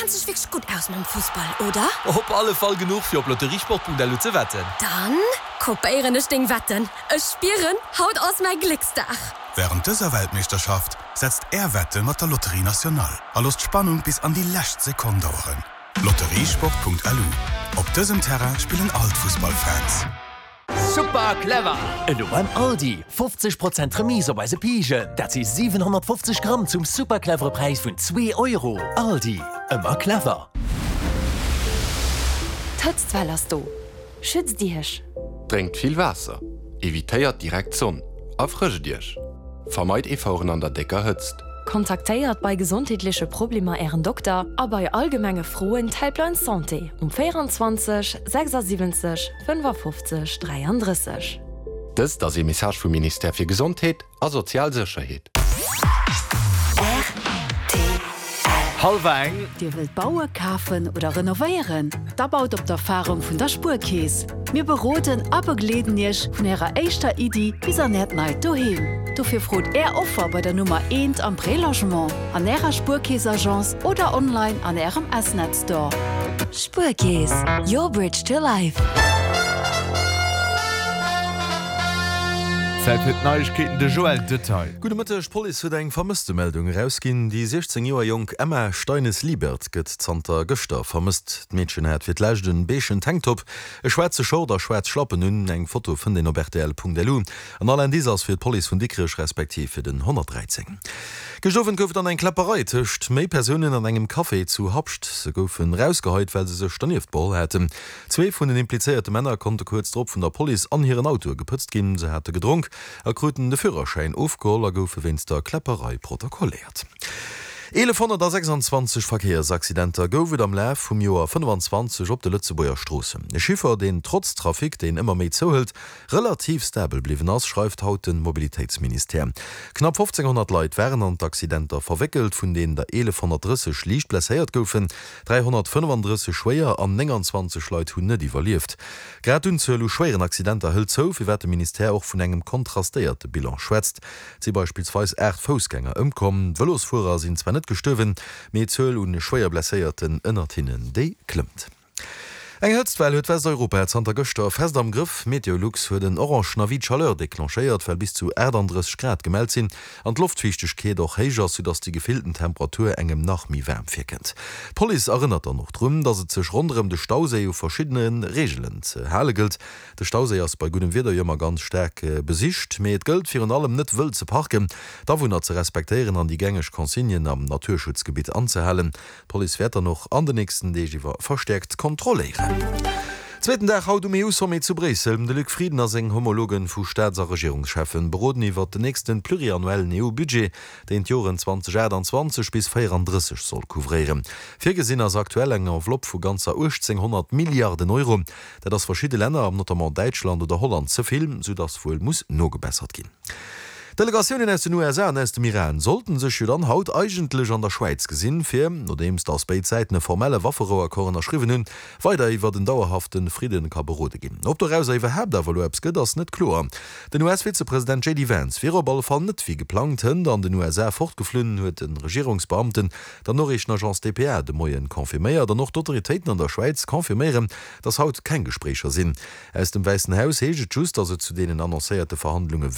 kenns dech wierklech gutt aus mam Fussball, oder? Op alle Fall genuch fir op lotteriesport.lu ze wetten. Dann kopéieren ech deng Wetten. Ech spieren, haut ass mäi Glécksdag! Wärend dëser Weltmeeschterschaft setzt Är Wette mat der Loterie Nationale a loosst d'Spannung bis an déi lescht Sekonn daueren. Lotteriesport.lu Op dësem Terrain spillen all d'Fussballfans. Super clever! Elo beim Aldi, 50 Prozent Remise op eise Pijen, dat si 750 Gramm zum super clevere Präis vun zwee Euro. Aldi, ëmmer clever! D'Hëtztwell ass do, schützt Iech! Drénkt vill Waasser, evitéiert direkt d'Sonn a frëscht Iech. Vermeit Efforten an der décker Hëtzt. Kontaktéiert bei gesondheetleche Problemer Ären Dokter a bei allgemenge Froen d'Helpline Santé um 24 76 55 33. Dëst ass ee Message vum Ministère fir Gesondheet a sozial Sécherheet. Hallwer eng. Dir wëllt baue, kafen oder renovéieren? Da baut op d'Erfarung vun der Spuerkeess. Mir beroden a begleeden Iech vun Ärer éischter Iddi bis an Äert neit Doheem. Dofir frot Är Offer bei der Nummer eent am Prélogement, an Ärer Spuerkeess-Agence oder online an Ärem S-Net Store. Spuerkeess, your bridge to life. Zäit fir d'Neiegkeeten, de Joël Detail. Gudde Mëtteg, D'Police huet eng Vermësstemeldung erausginn. Déi 16 Joer jonk Emma Steines-Liebert gëtt zanter gëschter vermësst. D'Meedchen hat fir d'lescht en beegen Tanktop, e schwaarze Short a schwaarz Schlappen un. Eng Foto fënnt een op rtl.lu. An all Indice ass fir d'Police vun Dikrech respektiv fir den 113. Gëscht Owend gouf et dann eng Kläpperei tëscht méi Persounen an engem Café zu Habscht. Se goufen rausgeheit, well se sech dernieft beholl haten. Zwee vun den implizéierte Männer konnte kuerz drop vun der Police an hiren Autoe gepëtzt ginn. Se hate gedronk a kruten de Führerschäin ofgeholl a goufe wéinst der Kläpperei protokolléiert. 1126 Verkéiersaccidenter gouf et am Laf vum Joer 25 op de Lëtzebuerger Stroossen. E Chiffer, deen trotz Trafic, deen ëmmer méi zouhëlt, relativ stabel bliwwen ass, schreift haut de Mobilitéitsministère. Knapp 1.500 Leit waren an d'Accidenter verwéckelt, vun deenen der 1.130 liicht blesséiert goufen. 335 schwéier an 29 Leit hunn net iwwerlieft. Grad d'Unzuel u schwéieren Accidenter hëlt zou, firwat de Ministère och vun engem kontrastéierte Bilan schwätzt. Et si beispillsweis 8 Foussgänger ëmkomm. Vëlosfuerer sinn zwar net gestuerwen, mee d'Zuel u schwéier Blesséierten ënnert hinnen, déi klëmmt. Eng Hëtztwell huet Westeuropa zanter gëschter fest am Grëff. Meteolux huet en orangen Avis de chaleur declenchéiert, well bis zu 38 Grad gemellt sinn an d'Loftfiichtegkeet och héich ass, soudass déi gefillten Temperatur engem nach méi waarm virkënnt. D'Police erënnert dann och drun, dass et sech ronderëm de Stauséi u verschiddene Reegelen ze hale gëllt. De Stauséi ass bei guddem Wieder jo ëmmer ganz staark besicht, mee et gëllt virun allem net wëll ze parken, d'Awunner ze respektéieren an déi gängeg Consignen am Naturschutzgebitt anzehalen. D'Police wäert dann och an de nächsten Deeg iwwer verstäerkt kontrolléieren. Zweeten Dag haut um EU-Sommet zu Bréissel. De Luc Frieden a seng Homologen vu Staats a Regierungscheffen beroden iwwert den nächsten pluriannuellen EU-Budget, deen d'Joren 2028 bis 34 soll couvréieren. Virgesinn ass aktuell eng Enveloppe vu ganzer 1.800 Milliarden Euro. Dat ass verschidde Länner, notamment Däitschland oder Holland, ze vill, soudass wuel muss nogebessert ginn. Delegatiounen aus den USA an aus dem Iran sollten sech jo dann haut eigentlech an der Schwäiz gesinn, fir, nodeems datt béid Säiten e formelle Wafferouaccord ënnerschriwwen hunn, weider iwwert en dauerhafte Fridden ka berode ginn. Ob dorauser iwwerhaapt awer elo eppes gëtt, ass net kloer. Den US-Vizepresident JD Vance wier op alle Fall net wéi geplangt hënt an den USA fortgeflunn, huet de Regierungsbeamten der Noriichtenagence dpa de Moien confirméiert. An och d'Autoritéiten an der Schwäiz confirméieren, datt haut keng Gespréicher sinn. Aus dem Wäissen Haus heescht et just, datt et zu deenen annoncéierte Verhandlunge.